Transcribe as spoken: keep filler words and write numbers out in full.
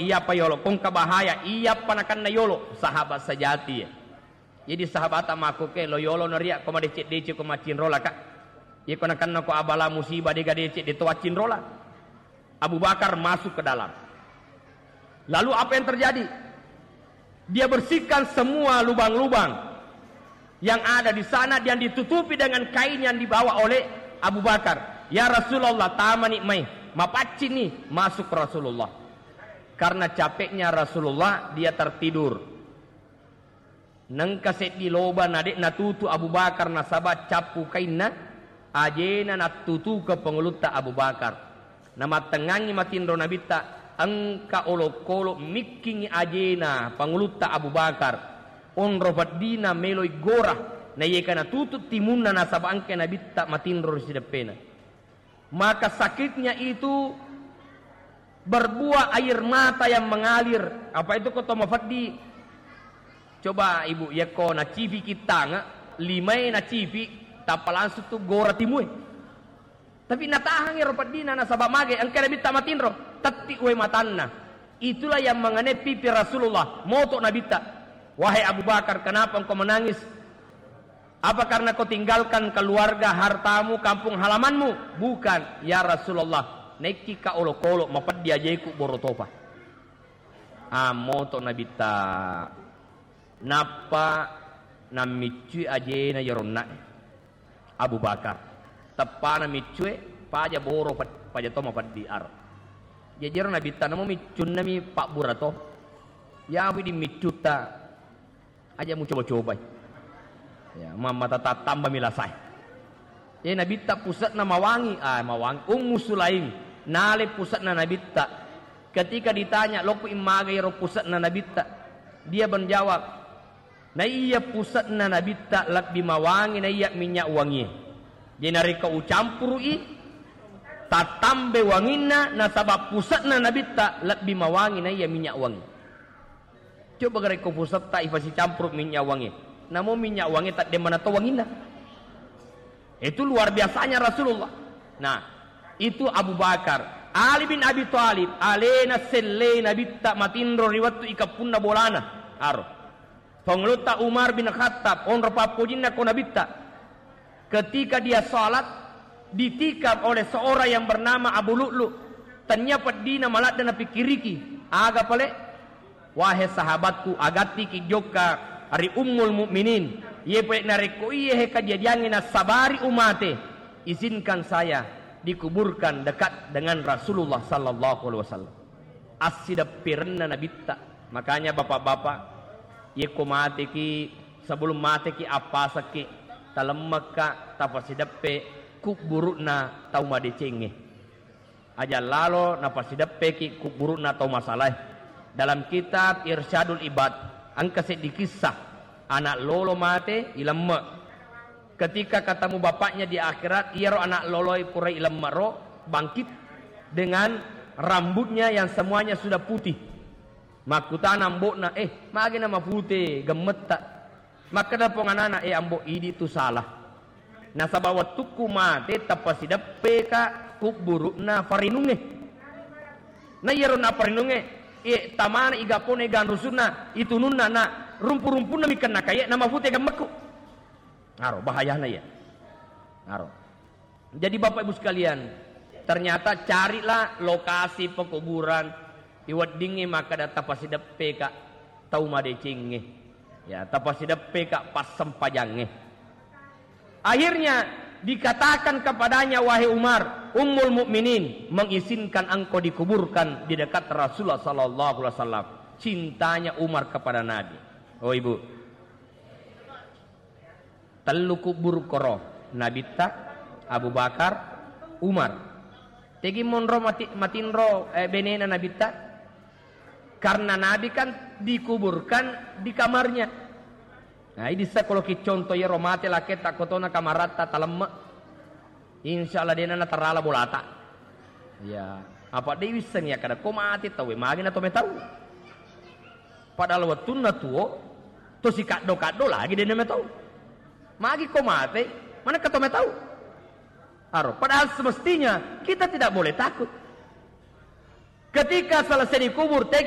iyapa yolo, ko engka bahaya, iyapa nakenna yolo, sahabat sejati ya. Jadi sahabata makkuke lo yolo naria ko madeceng-deceng ko macinrola ka. Iya ko nakenna ko abala musibah dega deceng de to accinrola. Abu Bakar masuk ke dalam. Lalu apa yang terjadi? Dia bersihkan semua lubang-lubang yang ada di sana dan ditutupi dengan kain yang dibawa oleh Abu Bakar. "Ya Rasulullah, tamani mai." Mapaccini masuk Rasulullah. Karena capeknya Rasulullah, dia tertidur. Nengka seddi loba na de' natutu Abu Bakar nasaba cappu kainna, ajena nattutuke pangulutta Abu Bakar. Namattengngangngi matinro Nabitta, engka olokolo mikkingngi ajena pangulutta Abu Bakar. Onro peddina meloi gora, naiyaga natutu timunna nasaba engka Nabitta matinro ri sideppena. Maka sakitnya itu berbuah air mata yang mengalir. Apa itu ko to mafeddi? Coba ibu, yakko nacipi kittang, limae nacipi, tappa langsung tu gora timue. Tapi natahang ero peddina nasaba mage, engka Nabitta matinro, tetti uwe matanna. Itulah yang mengenai pipi Rasulullah, moto Nabitta. "Wahai Abu Bakar, kenapa engkau menangis?" "Apa karena kau tinggalkan keluarga, hartamu, kampung halamanmu?" "Bukan, ya Rasulullah. Naikki ka olokolo, mapeddi ajeku boro topa." Ammoto Nabitta. Nappa nammiccui ajena yero onna'e Abu Bakar. Teppana miccue, paja boro, pa-, paja to mapeddi aro. Jajero Nabitta namo miccunnami pabbura to. Ya, widing miccutta. Aja mucoba-cobai. Ya, mamma tata tambami lasae. Eh, Nabitta puse'na mawangi, ah, mawangi. Ummu Sulaim, nale puse'na Nabitta. Ketika ditanya, "Lokku immaga iyaro puse'na Nabitta?" Dia menjawab, "Naiya puse'na Nabitta lebbi mawangi naiya minyak wangie. Jadi narekko ucampuru'i, tatambe wanginna, nasaba puse'na Nabitta lebbi mawangi naiya minyak wangi." Coba gare ko pusetta ifasicampuru minyak wangi. Namo minyak wangi tadde mana to wanginna. Itu luar biasanya Rasulullah. Nah, itu Abu Bakar. Ali bin Abi Thalib, alena selle Nabitta matinro ri wettu ikappunna bolana. Aro. Pangulutta Umar bin Khattab, onro pappojinna ko Nabitta. Ketika dia salat, ditikam oleh seorang yang bernama Abu Lu'lu. Tania peddina maladde napikkiriki. Aga pale? Wahai sahabatku, agattiki jokka ri Ummul Mukminin. Iye pale narekko iye he kajadiangnge nasabari umate, izinkan saya dikuburkan dekat dengan Rasulullah sallallahu alaihi wasallam. Assidepperenna Nabitta. Makanya bapak-bapak, yekko mateki, sebelum mateki, appasekki, talemmekka, tapasideppe kubburu'na tau madecengnge. Aja lalo napasideppeki kubburu'na tau masalae. Dalam kitab Irsyadul Ibad, engka seddi kissah, anak lolo mate, ilemme. Ketika ketemu bapaknya di akhirat, iyaro anak loloi pura ilemme ro bangkit dengan rambutnya yang semuanya sudah putih. Makkutana ambo'na, "Eh, magi na mapute gemmetta?" Makkeda pong anana, "Eh, ambo, idi tu salah. Nasaba wettukku mate, tapasideppeka kubburu'na farinungnge. Na iyaro na farinungnge, eh, tamana igapone ganrusunna, itununna na rumpu-rumpunna mikenna kaye, na mapute gemmekku." Aro, bahayana iya. Aro. Jadi, Bapak Ibu sekalian, ternyata carilah lokasi pekuburan iweddingnge makkeda tapasideppeka tau madecengnge. Ya, tapasideppeka passempajangnge. Akhirnya dikatakan kepadanya, "Wahai Umar, Ummul Mukminin mengizinkan engkau dikuburkan di dekat Rasulullah sallallahu alaihi wasallam." Cintanya Umar kepada Nabi. Oh, Ibu. Tellu kubburu koro, Nabitta, Abu Bakar, Umar. Tegi monro mati-, matinro, eh, benena Nabitta? Karena Nabi kan dikuburkan di kamarnya. Nah, idissa koloki contoh iyaro mate laketta kotona kamaratta talemme. Insya Allah dena natarala bolata. Ya, apa de wisseng ya kada ko mate tau, magi na to metau. Padahal wettunna tuo, to sikaddo-kaddo lagi dena metau. Magi ko mate, mana ka to metau. Aro, padahal semestinya kita tidak boleh takut. Ketika selesai dikubur, tegi